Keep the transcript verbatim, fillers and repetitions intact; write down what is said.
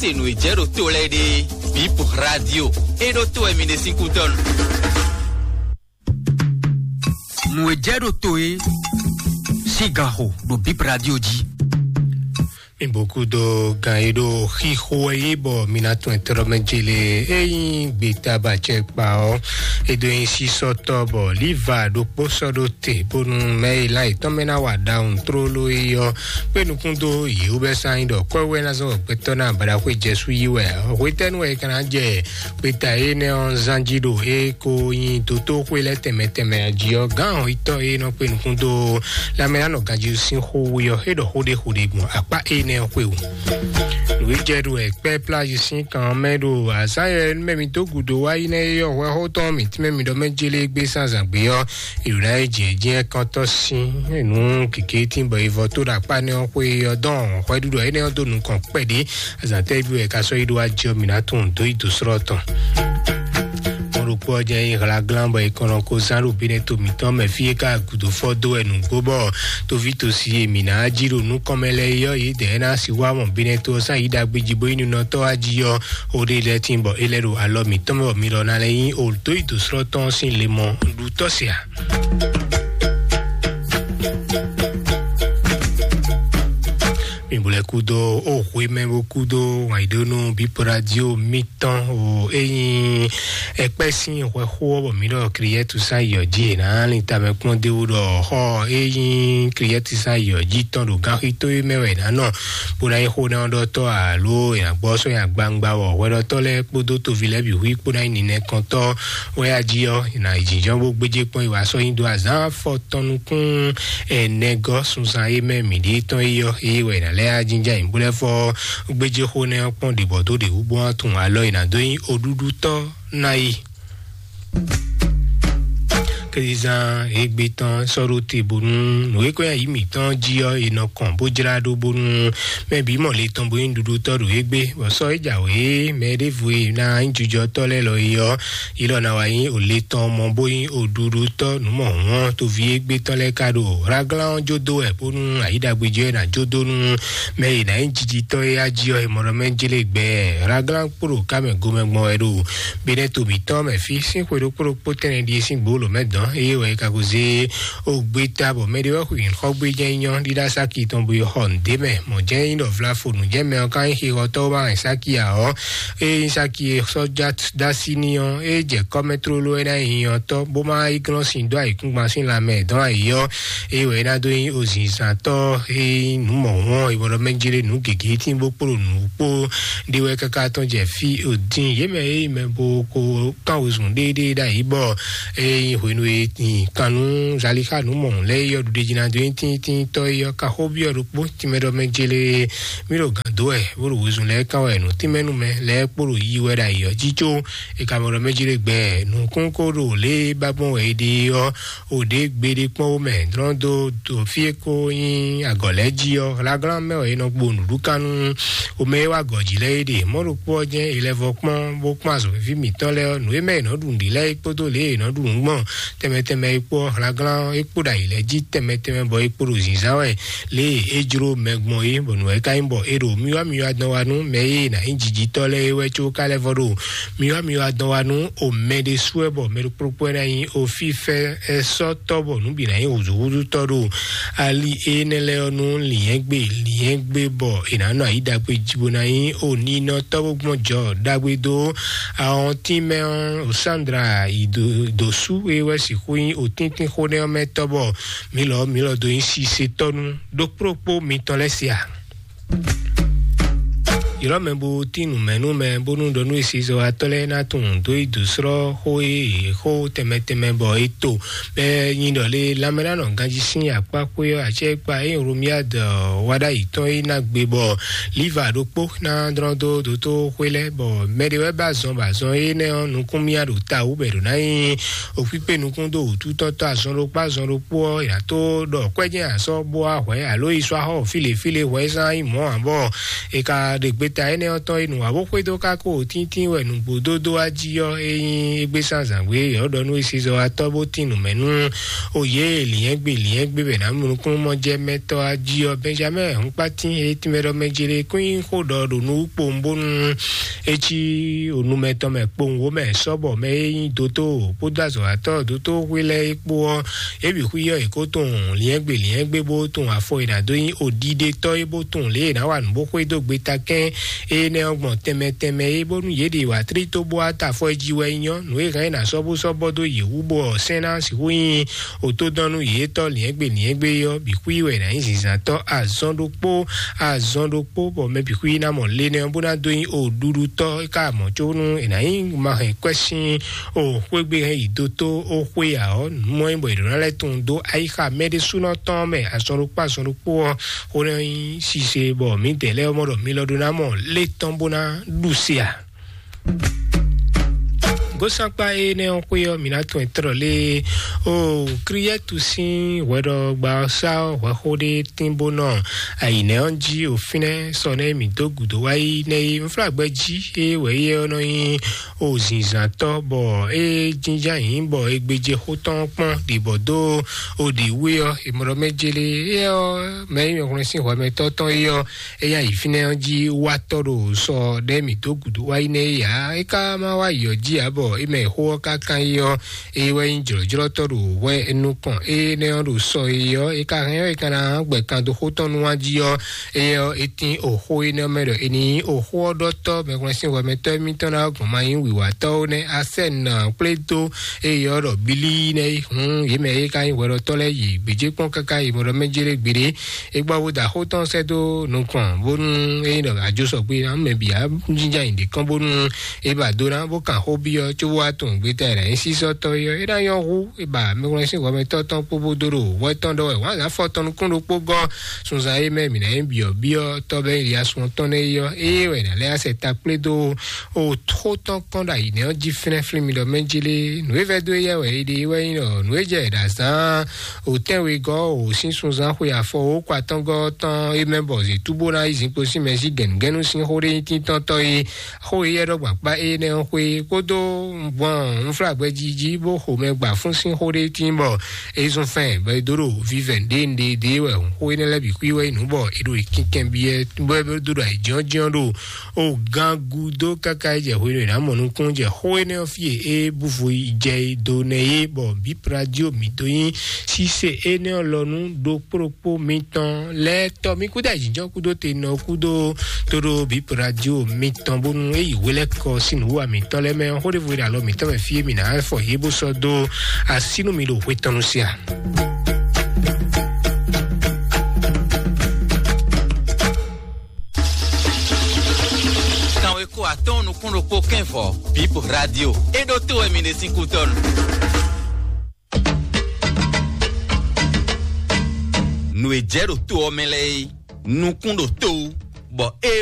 Se nǔ e jɛ ɖo to lɛ́ɛ ɖe, Bip Radio, e ɖo to wɛ mi ɖe sín kútɔ́ nu. Nǔ e jɛ ɖo to e sín gan xo ɖo Bip Radio jí. Mi boku dó gan e ɖo xixo wɛ yí bɔ mi ná tún ɛtɔ́ mɛ jele e nyí gbeta bacɛ kpa ɔ́. E dó nyí sísɔ́tɔ́ bɔ liva ɖokpó sɔ́ ɖó te bónú mɛ e lan yětɔn mɛ ná wa ɖawun tlóló é ɔ́ kpé nukún dó yě wú bɛ́ sán nyí ɖɔ kɔ́wé ná zɔ́n gbɛtɔ́ ná baɖaxwé jɛsú yí wɛ. Hwetɛ́nu wɛ é ka ná jɛ gbeta énɛ́ ɔ́ zán jí ɖo é ko nyí dotóxwé lɛ́ɛ tɛnmɛ tɛnmɛ jí ɔ́, gǎn hɔnyitɔ́ e nɔ kpé nukún dó lanmɛlánɔ ganjí sín xó wú ɔ́, é ɖɔ xó ɖé xó ɖé gbɔn akpá énɛ́ ɔ́ xwé wú. Nǔ e jɛ ɖo wɛ kpɛ́ plází sín kan ɔ́ mɛ ɖo azǎn e mɛ mi dó gǔdo wá yi nɛ́ é ɔ́, hwɛxó tɔn mǐtínmɛ mi ɖɔ mɛ jélé gbé sín azǎn gbé ɔ́, è ɖǒ ná yi jǐ jǐ ɛkɔntɔ́ sín nǔ kěké tín bɔ è vɔ tó ɖo akpá nɛ́ ɔ́ xwé ɔ́ dɔn hwɛɖuɖu énɛ́ ɔ́ dó nukɔn kpɛɖé. Azǎn tɛ́ bí wɛ è ka sɔ́ yi ɖó wá jɛ ɔ́, mǐ ná tunwun dó yi dǒ slɔ́ tɔn. Mɔɖokpó ɔ́ jɛ nyí hlaglán bɔ è kɔn nɔ ko zán ɖo Benɛto mǐtɔn mɛ fí é ka gǔdo fɔ dó wɛ nǔgbó bɔ toví tosi e mǐ ná jí ɖo nukɔn mɛ lɛ́ɛ é ɔ́, yědɛɛ ná sixú wá mɔ Benɛto ɔ́ sín ayi ɖagbe jí bó nyí ninɔtɔ́ wá jí ɔ́, ó ɖe lɛ́ɛ tín bɔ é lɛ́ ɖo alɔ mǐtɔn mɛ bɔ mi lɔ ná lɛ́ nyí o dó yi dǒ slɔ́ tɔn ɔ́ sín le mɔ ɖu tɔ́ se ǎ. Mi bó lɛ́ kúdó ó hwe mɛ bó kúdó wǎnyíɖónú bípo radio mitɔn o é nyí ɛkpɛ́ sín hwɛxó ɔ́ bɔ mǐ ɖɔ Kliyɛ́tu sán yɔ jí è nǎ lin tamɛ kpɔ́n d'é wú ɖɔ xɔ é nyí Kliyɛ́tu sán yɔ jí tɔn ɖo ganxixo e mɛ wɛ è nǎ nɔ bó ná nyí xó nɛ́ ɔ́ ɖɔtɔ́ alo è nǎ gbɔ sɔ́ nyi agbawungba wɔ hwɛɖɔtɔ́ lɛ́ɛ kpódó toví lɛ́ɛ bǐ hu kpó ná nyí ninɛkɔntɔ́ wɛ a jí ɔ́, è nǎ yi jǐnjɔ́n bó gbéjé kpɔ́n yi wá sɔ́ nyi dó azǎn afɔ tɔn nukún ɛnɛgɔ́ sunzan e mɛ mǐ ɖe tɔn é ɔ́, ée wɛ è nǎ lɛ́ yá jínjɔ́n ayǐ bó lɛ́ fɔ gbéjéxó nɛ́ ɔ́ kpɔ́n ɖě bɔ dó ɖě wú bó ná tunwun alɔ e nǎ dó nyí oɖúɖútɔ́ ná yi. Kɛ́zizán égbé tɔn sɔ́ ɖó te bónú nǔ e kɔn nyi ayǐ mǐtɔn jí ɔ́, è nɔ kɔn bó jlá ɖó bónú mɛ bǐ mɔ le tɔn bó nyí nǔɖuɖutɔ́ ɖo égbé, bɔ sɔ́ é jǎwe mɛ ɖěvo e ná nyí jijɔtɔ́ lɛ́ɛ lɔ é ɔ́, yi lɔ ná wá nyí o le tɔn mɔ bó nyí oɖuɖutɔ́ nǔ mɔ hǔn ɔ́, toví égbé tɔn lɛ́ɛ ka ɖo hlaglán ɔ́ jó dó wɛ bónú ayǐ ɖagbe jɛ ná jó dó nú mɛ e ná nyí jijitɔ́ é á jí ɔ́, è mɔ ɖɔ mɛ jlé gbɛ hlaglán kpó ɖo ká mɛ gomɛ gbɔn wɛ ɖo Benɛto mǐtɔn mɛ fí sín xwe ɖokpó ɖokpó tɛnɛ ɖíe sín gbǒ lǒ mɛ dɔn, eye wɛ é ka ko zé ó gbé ta bɔ mɛ ɖé wɛ xweyǐn xɔ gbé jɛ́n nyɔ́ ɖíɖá sáki tɔn bo yi xɔ nǔɖé mɛ. Mɔ̌ jɛ́n nyí ɖɔ vlafonu jɛ́n mɛ ɔ́ ka nyí xixɔtɔ́ bó ma hɛn sáki ǎ ɔ́, ée nyí sáki e sɔ́ dó así n'i ɔ́, é jɛ kɔ́ mɛ tlóló é ná nyí nyɔ́tɔ́ bó ma yi glɔ́n sin dó ayǐkúngban sín lanmɛ dɔn ayǐ ɔ́, ée wɛ é ná dó nyí ozinzantɔ́ e nyí nǔ mɔ̌hun ɔ́, è bɔ ɖɔ mɛ jlé nǔ gěgé tín bó kpló nǔ kpó ɖé wɛ káká tɔn jɛ fí o dín yě mɛ e nyí mɛ bo ko kán wezun ɖéeɖée ɖ'ayǐ bɔ eye nyí hwenu e nyi kan nú Zalixa nǔ mɔ̌hun lɛ́ɛ yɔ ɖuɖe jí ná dó nyí tíntínntɔ́ é yɔ ka xó byɔ́ ɖokpó tínmɛ ɖɔ mɛ jélé mí ɖo gǎn dó wɛ bó ɖo wezun lɛ́ɛ kán wɛ nǔ tínmɛ nú mɛ lɛ́ɛ kpó ɖo yi wɛ ɖ'ayǐ ɔ́ jí có è ka mɔ ɖɔ mɛ jélé gbɛ nǔkún kó ɖo lě e ba gbɔn wɛ è ɖe ɔ́ o ɖě gbeɖé kpɔ́n wó mɛ dlɔ́n dó dó fí e ko nyí agɔ̌ lɛ́ɛ jí ɔ́, hlaglán mɛ wɛ è nɔ gbo nǔɖukanú omɛ e wá gɔ̌ jí lɛ́ɛ é ɖe. Mɔ̌ ɖokpó ɔ́ jɛ́n è lɛ́ vɔ kpɔ́n bó kpɔ́n azɔ̌ víví mǐtɔn lɛ́ɛ ɔ́, nǔ e mɛ è nɔ́ ɖu nǔɖi lɛ́ɛ é kpódó lě e è nɔ́ ɖu nǔ gbɔn tɛnmɛ tɛnmɛ é kpó ɔ́, hlaglán é kpó ɖo ayǐ lɛ́ɛ jí tɛnmɛ tɛnmɛ bɔ é kpó ɖo zǐnzán wɛ lě e é jló mɛ gbɔn é, bɔ nǔ wɛ ka nyí bɔ è ɖo myɔ́myɔ́ dɔn wá nú mɛ e ná nyí jijitɔ́ lɛ́ɛ é wɛ có ka lɛ́ vɔ ɖo myɔ́myɔ́ dɔn wá nú o mɛ ɖésú wɛ bɔ mɛ ɖokpó ɖokpó wɛ ná nyí o fífɛ́ ɛ sɔ́ tɔ́ bɔ nǔ bǐ ná nyí hǔzúhúzútɔ́ ɖo ali énɛ́ lɛ́ɛ ɔ́ nú lǐnyɛ́gbe lǐnyɛ́gbe bɔ è nǎ nɔ ayǐ ɖagbe jí bó ná nyí o ninɔtɔ́ bó gbɔn jɔ ɖagbe dó awɔntín mɛ ɔ́, Sandra yi dǒsú e wɛ sixú nyí otíntín xó nɛ́ ɔ́ mɛ tɔ́ bɔ mǐ lɔ mǐ lɔ dó nyí sisetɔ́ nú ɖokpó ɖokpó mitɔn lɛ́ɛ se a? Ylɔ́ mɛ bó tín nǔ mɛ nú mɛ bónú ɖɔ nú esizɔ́watɔ́ lɛ́ɛ ná tunwun dó yi dǒ slɔ́ xó e yě xó tɛnmɛ tɛnmɛ bɔ é to bɔ é nyí ɖɔ lé lanmɛnánɔ ganjí sín akpá xwé ɔ́ acɛ́kpa e Romiad wá ɖ'ayǐ tɔn é ná gbe bɔ liva ɖokpó ná dlɔ́n dó dótó xwé lɛ́ɛ bɔ mɛ ɖé wɛ ba azɔn bɔ azɔn énɛ́ ɔ́ nukún myá ɖo ta wú bɔ è ɖǒ ná nyí òkpíkpé nukún dó wǔtútɔ́tɔ́ azɔn ɖokpó azɔn ɖokpó ɔ́ è nǎ tó ɖɔ kwɛ́jɛ́n asɔ́ bó wá hwɛ̌ alo yi sɔ́ axɔ́ fí lě fí lě hwɛ̌ zán nyí mɔ̌ ǎ bɔ è ka ɖe gbe ta énɛ́ ɔ́ tɔn e nǔ wa bó xwedó kákó tíntín wɛ nǔgbó dódó wá jí ɔ́, é nyí égbé sán zǎngbé yɔ̌ ɖɔ nú esizɔ́watɔ́ bó tín nǔ mɛ nú òye lǐnyɛ́gbe lǐnyɛ́gbe bɛ nǎ mlukún mɔ jɛ mɛtɔ́ á jí ɔ́, Benjamin Hɔnkpatín e tínmɛ ɖɔ mɛ jere kún nyí xó ɖɔ ɖo nú kpowun bónú é cí onú mɛtɔn mɛ kpowun wó mɛ sɔ́bɔ mɛ e nyí dótó kpódó azɔ̌watɔ́ dótó xwé lɛ́ɛ é kpó ɔ́, é bǐ xwí ɔ́ è kó tunwun lǐnyɛ́gbe lǐnyɛ́gbe bó tunwun afɔ e nǎ dó nyí òɖiɖetɔ́ é bó tunwun lě e è nǎ wa nǔ bó xwedó gbetakɛ́n énɛ́ ɔ́ gbɔn tɛnmɛ tɛnmɛ é, bónú yě ɖe wǎ tlí tó bó wá ta afɔ jí wɛ nyɔ́ nǔ e hɛn é ná sɔ́ bó sɔ́ bɔ dó yě wú bó ɔ́ sɛ́n ná sixú nyí òtódɔ́nú yětɔn lǐnyɛ́gbe lǐnyɛ́gbe ɔ́ bǐ xwí wɛ è nǎ nyí zǐnzántɔ́ azɔn ɖokpó azɔn ɖokpó bɔ mɛ bǐ xwí ná mɔ le nɛ́ ɔ́ bó ná dó nyí òɖuɖutɔ́ é ká mɔ̌ có nú è nǎ nyí ma hɛn kwɛ́ sín o xwé gbe hɛn yi dó tó ó xwé ǎ ɔ́, nǔ mɔ nyí bɔ è ɖǒ ná lɛ́ tunwun dó ayixa mɛ ɖésúnɔ tɔn mɛ azɔn ɖokpó azɔn ɖokpó ɔ́, xó ná nyí sise bɔ mǐdɛɛ lɛ́ɛ mɔ ɖɔ mi lɔ ɖó ná mɔ lé tɔn bó ná ɖu se ǎ. Gósankpa énɛ́ ɔ́ xwé ɔ́, mǐ ná tunwun ɛ tlɔ́ lé o Kriyɛ́tu sín hwɛɖɔgba ɔ́ sá ɔ́ hwɛxó ɖé tín bó nɔ ayǐnɛ́ ɔ́ jí o fínɛ́ sɔ nɛ́ mǐ dó gǔdo wá yi nɛ́ é. Unflágbɛ́ jí é wɛ é ɔ́ nɔ nyí o zǐnzántɔ́ bɔ é jínjɔ́n ayǐ bɔ é gbéjé xó tɔn kpɔ́n ɖi bɔ dó o ɖi wé ɔ́, è mɔ ɖɔ mɛ jélé é ɔ́, mɛ e nyí mɛhwlɛ́n sín hwɛmɛtɔ́ tɔn é ɔ́, é nyí ayǐ fínɛ́ ɔ́ jí wátɔ́ ɖo sɔ ɖɛ́ mǐ dó gǔdo wá yi nɛ́ é ǎ. É ka ma wá yi ɔ́ jí ǎ bɔ é mɛ xó ɔ́ ka kán é ɔ́, é wɛ nyí jlɔ̌jlɔ́tɔ́ ɖo hwɛ nukɔn énɛ́ ɔ́ ɖo sɔ é ɔ́, é ka hɛn ɔ́, é ka ná gbɛ kan dó xó tɔn nú wá jí ɔ́, é ɔ́, é tín oxó énɛ́ mɛ ɖɔ è ní nyí oxó ɔ́ ɖɔtɔ́ mɛhwlɛ́n sín hwɛmɛtɔ́ émítɔn ná gbɔn ma nyí wǐwatɔ́ ó nɛ́. Asɛ́nɔ kplé dó é ɔ́ ɖɔ bílí nɛ́ é hun yě mɛ é ka nyí hwɛɖɔtɔ́ lɛ́ɛ yi gbějé kpɔ́n káká yi mɔ ɖɔ mɛ jélé gbeɖé. É gbɔ bó da xó tɔn sɛ́ dó nukɔn bónú é nyí ɖɔ ajo sɔgbe ná mɛ bǐ á jínjɔ́n ayǐ ɖě kɔn bónú é ba dó ná bó kan xó byɔ́ cóbó wá tunwun gbeta e ɖo anyǐsísɔ́tɔ́ é ɔ́, é ná nyɔ́ hú é ba mɛhwlɛ́n sín hwɛmɛtɔ́ tɔn kpó bó dó ɖo hwɛ tɔn ɖɔ wɛ wǎn zǎn fɔ tɔn nukún ɖokpó gɔ́ sunzan é mɛ mǐ ná nyí byɔ̌byɔ́ tɔ́ bɛ́ nyí sun tɔn nɛ́ é ɔ́, é wɛ è nǎ lɛ́ asɛ ta kplé dó o xó tɔn kɔn ɖo ayǐ nɛ́ ɔ́ jí flɛ́nflɛ́n mi ɖɔ mɛ jélé nǔ e vɛ́ dó éyɛ́ wɛ é ɖe é wɛ nyí ɖɔ nǔ e jɛ è ɖo azǎn o tɛ́nwegɔ́ o sín sunzán xwe afɔ o kɔ atɔ́ngɔ́ tɔn é mɛ bɔ zětú bó ná yi zinkpo sín mɛ sí gɛ̌nugɛ̌nu sín xó ɖé nyí tíntɔ́ntɔ́ é xó éyɛ́ ɖɔ gbǎkpá énɛ́ ɔ́ xwé kpódó gbɔn unflágbɛ́ jí jí bó xo mɛ gba fún sín xó ɖé tín bɔ é zún fɛn bɔ é dó ɖo vívɛ̌ ɖé ɖé ɖé wɛ xó énɛ́ lɛ́ɛ bǐ xwí wɛ nyí nǔ bɔ é ɖo yi kínkɛn byɔ́ bɔ é dó ɖo ayǐjínjɔ́n ɖo o gán gúdo káká é jɛ hwenu e è nǎ mɔ nukún jɛ xó énɛ́ ɔ́ fí e é búvo yi jɛ do nɛ é bɔ bǐ radio mǐ dó nyí sísè énɛ́ ɔ́ lɔ nú ɖokpó ɖokpó mitɔn lɛ́ɛ tɔ́ mì kúdó ayǐjínjɔ́n kúdó tenɔ kúdó tóɖó bǐ radio mitɔn bónú é yi hwelɛ́kɔ sín nǔwiwa mitɔn lɛ́ɛ mɛ ɔ́, xó ɖěvo e ɖo alɔ mitɔn mɛ fí e mǐ ná fɔ yě bó sɔ́ dó así nú mi ɖo hwe tɔn nu sia. Kanwe kó atɔ́ɔ́n nukún ɖokpó kɛ́n vɔ bíp radio é ɖó tó wɛ mi ɖe sín kútɔ́nu. Nǔ e jɛ ɖo to ɔ́ mɛ lɛ́ɛ é, nukún ɖo to wú, bɔ é